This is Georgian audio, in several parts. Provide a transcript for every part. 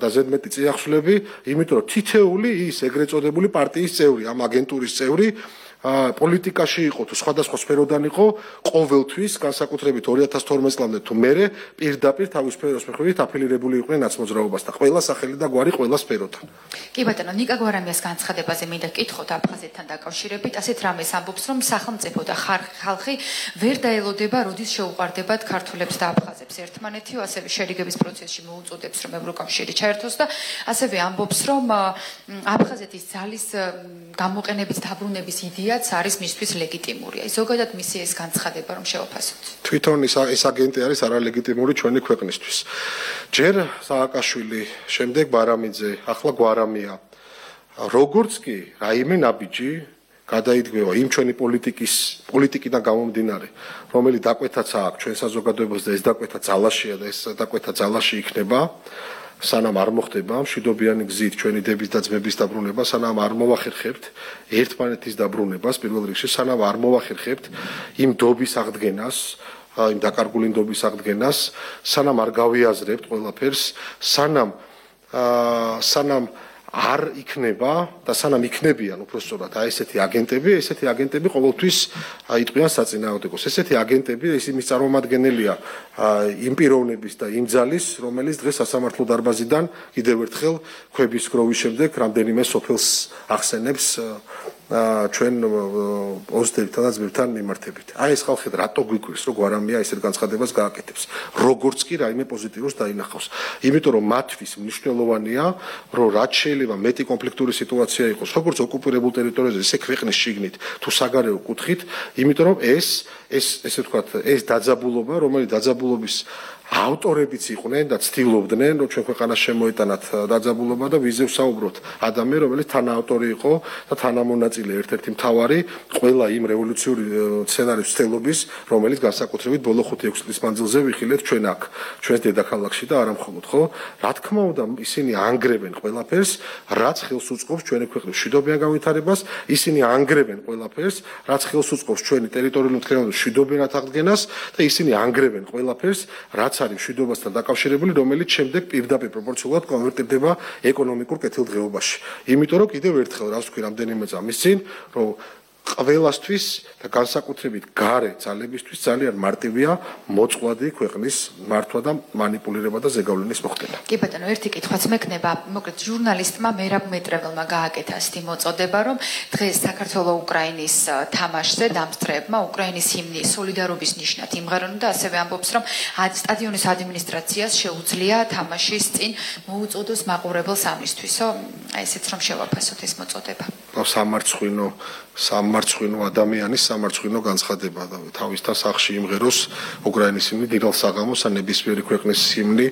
და ზედმეტი წიაღშლები, იმიტომ რომ თითეული ის ეგრეთ წოდებული პარტიის წევრი, ამ აგენტურის წევრი პოლიტიკაში იყო თუ სხვადასხვა სფეროდან იყო ყოველთვის განსაკუთრებით 2012 წლამდე თუ მერე პირდაპირ თავის სფეროს მიხედვით აფილირებული იყვნენ ნაცმოძრაობასთან ყველა სახელი და გვარი ყველა სფეროდან. კი ბატონო, ნიკა გვარამიას განცხადებაზე მინდა გკითხოთ აფხაზეთთან დაკავშირებით, ასეთ რამეს ამბობს, რომ სახელმწიფო და ხალხი ვერ დაელოდება, როდის შეუყვარდებათ ქართულებს და აფხაზებს ერთმანეთიო, ასევე შერიგების პროცესში მოუწოდებს, რომ ევროკავშირი ჩაერთოს და ასევე ამბობს, რომ აფხაზეთის ძალის გამოყენების დაბრუნების იდეაც არის მისთვის ლეგიტიმურია. ზოგადად მისი ეს განცხადება რომ შევაფასოთ. თვითონ ეს აგენტი არის არალეგიტიმური ჩვენი ქვეყნისთვის. ჯერ სააკაშვილი, შემდეგ ბარამიძე, ახლა გვარამია. როგორც კი რაიმე ნაბიჯი გადაიდგება იმ ჩვენი პოლიტიკიდან გამომდინარე, რომელიც დაკვეთაც აქვს ჩვენ საზოგადოებას და ეს დაკვეთა ძალაშია და ეს დაკვეთა ძალაში იქნება. სანამ არ მოხდება მშვიდობიანი გზით ჩვენი დების და ძმების დაბრუნება, სანამ არ მოვახერხებთ ერთმანეთის დაბრუნებას, პირველ რიგში, სანამ არ მოვახერხებთ იმ დობის აღდგენას, იმ დაკარგული დობის აღდგენას, სანამ არ გავიაზრებთ ყველაფერს, სანამ არ იქნება და სანამ იქნებიან უпростоრად ესეთი აგენტები ყოველთვის იტყვიან საწინააღმდეგოს. ესეთი აგენტები ისინი წარმომადგენელია იმ პიროვნების და იმ ძალის, რომელიც დღეს სასამართლო დარბაზიდან კიდევ ერთხელ ქვების გროვის შემდეგ რამდენიმე სოფელს ახსენებს ჩვენ ოზდებთან და ძმებთან მიმართებით. აი ეს ხალხი რატო გვიკვირს, რომ გვარამია ესეთ განცხადებას გააკეთებს, როგორც კი რაიმე პოზიტიურს დაინახავს. იმიტომ რომ მათთვის მნიშვნელოვანია, რომ რაც შეიძლება მეტი კონფლიქტური სიტუაცია იყოს, როგორც ოკუპირებულ ტერიტორიაზე, ისე ქვეყნის შიგნით თუ საგარეო კუთხით, იმიტომ რომ ესე ვთქვათ, ეს დაძაბულობა, რომელიც დაძაბულობის ავტორებიც იყვნენ და ცდილობდნენ, რომ ჩვენ ქვეყანას შემოეტანათ დაძაბულობა და ვიზე ვსაუბროთ ადამიან, რომელიც თანაავტორი იყო და თანამონაწილე ერთ-ერთი მთავარი ყველა იმ რევოლუციური სცენარის ცდელობის, რომელიც განსაკუთრებით ბოლო 5-6 წლის მანძილზე ვიხილეთ ჩვენ აქ, ჩვენს დედაქალაქში და არა მხოლოდ, ხო? რა თქმა უნდა, ისინი ანგრევენ ყველაფერს, რაც ხელს უწყობს ჩვენი ქვეყნის მშვიდობიან განვითარებას, ისინი ანგრევენ ყველაფერს, რაც ხელს უწყობს ჩვენი ტერიტორიული მთლიანობის მშვიდობიან აღდგენას და ისინი ანგრევენ ყველაფერს, რაც არის მშვიდობასთან დაკავშირებული, რომელიც შემდეგ პირდაპირ პროპორციულად კონვერტირდება ეკონომიკურ კეთილდღეობაში. იმიტომ რომ კიდევ ერთხელ რას ვთქვი რამდენიმე წამის წინ, რომ ყველასთვის და განსაკუთრებით გარე ძალებისთვის ძალიან მარტივია მოწყვლადი ქვეყნის მართვა და манипуლირება და ზეგავლენის მოხდენა. კი ბატონო, ერთი კითხვაც მექნება, მოკლედ ჟურნალისტმა მერაბ მეტრეველმა გააკეთა ასეთი მოწოდება, რომ დღეს საქართველო-უკრაინის თამაშზე დამსწრეებმა უკრაინის ჰიმნი სოლიდარობის ნიშნად იმღერონ და ასევე ამბობს, რომ სტადიონის ადმინისტრაციას შეუძლია თამაშის წინ მოუწოდოს მაყურებელს ამისთვისო, ესეც რომ შევაფასოთ ეს მოწოდება. სამარცხვინო ადამიანის სამარცხვინო განცხადება და თავისთან სახში იმღეროს უკრაინის ჰიმნი, დიდალ საღამოს ან ნებისმიერი ქვეყნის ჰიმნი,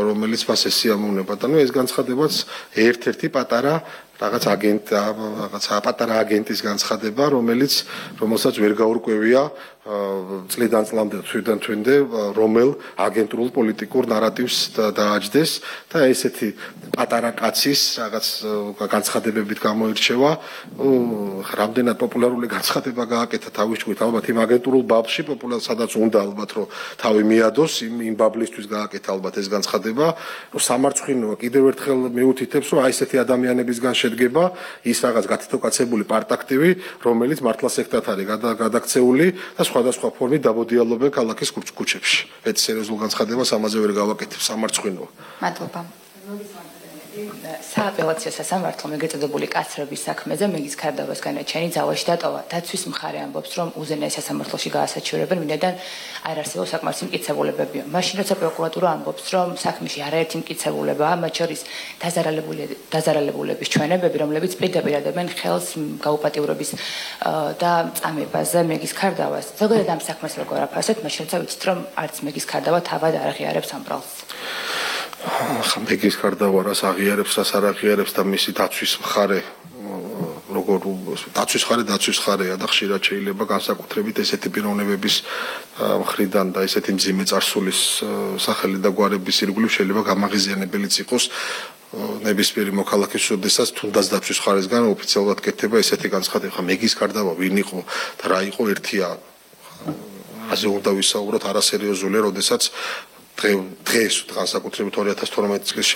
რომელიც მას ესიამოვნება. და ეს განცხადებაც ერთ-ერთი პატარა პატარა აგენტის განცხადება, რომელსაც ვერ გაურკვევია წლიდან წლამდე თვიდან თვენდე რომელ აგენტურულ პოლიტიკურ ნარატივს დააჯდეს და ესეთი პატარა კაცის რაღაც განცხადებებით გამოირჩევა, რამდენად პოპულარული განცხადება გააკეთა თავის ჭკვით, ალბათ იმ აგენტურულ ბაბში სადაც უნდა ალბათ რომ თავი მიადოს იმ ბაბლისთვის გააკეთა ალბათ ეს განცხადება, რომ სამარცხვინოა კიდევ ერთხელ მიუთითებს, რომ აი ესეთი ადამიანებისგან შედგება ის რაღაც გათითოკაცებული პარტაქტივი, რომელიც მართლა სექტად არის გადაქცეული და სხვადასხვა ფორმით დაბოდიალობენ ქალაქის ქუჩებში. ეს სერიოზულ განცხადებას ამაზე ვერ გავაკეთებ, სამარცხვინოა. მადლობა. სააპელაციო სასამართლომ ეგრეთ წოდებული კაცრების საქმეზე მეგის ქარდავას განაჩენი ძალაში დატოვა. დაცვის მხარე ამბობს, რომ უზენაეს სასამართლოში გაასაჩივრებენ, ვინაიდან არ არსებობს საკმარისი მტკიცებულებები. მაშინ როცა პროკურატურა ამბობს, რომ საქმეში არაერთი მტკიცებულებაა, მათ შორის დაზარალებულების ჩვენებები, რომლებიც პირდაპირ ადებენ ხელს გაუპატიურების და წამებაზე მეგის ქარდავას. ზოგადად ამ საქმეს როგორ აფასებთ, მაშინ როცა ვიცით, რომ არც მეგის ქარდავა თავად არ აღიარებს ამ ბრალს. მეგის ქარდავა რას აღიარებს, რას არ აღიარებს და მისი დაცვის მხარე დაცვის მხარეა და ხშირად შეიძლება განსაკუთრებით ესეთი პიროვნებების მხრიდან და ესეთი მძიმე წარსულის სახელი და გვარების ირგვლივ შეიძლება გამაღიზიანებელიც იყოს ნებისმიერი მოქალაქის შესაძლებლად თუნდაც დაცვის მხარესგან ოფიციალურად კეთდება ესეთი განცხადება. მეგის ქარდავა ვინ იყო და რა იყო ერთია აზე უნდა ვისაუბროთ არასერიოზულია, როდესაც დღეს განსაკუთრებით 2012 წლის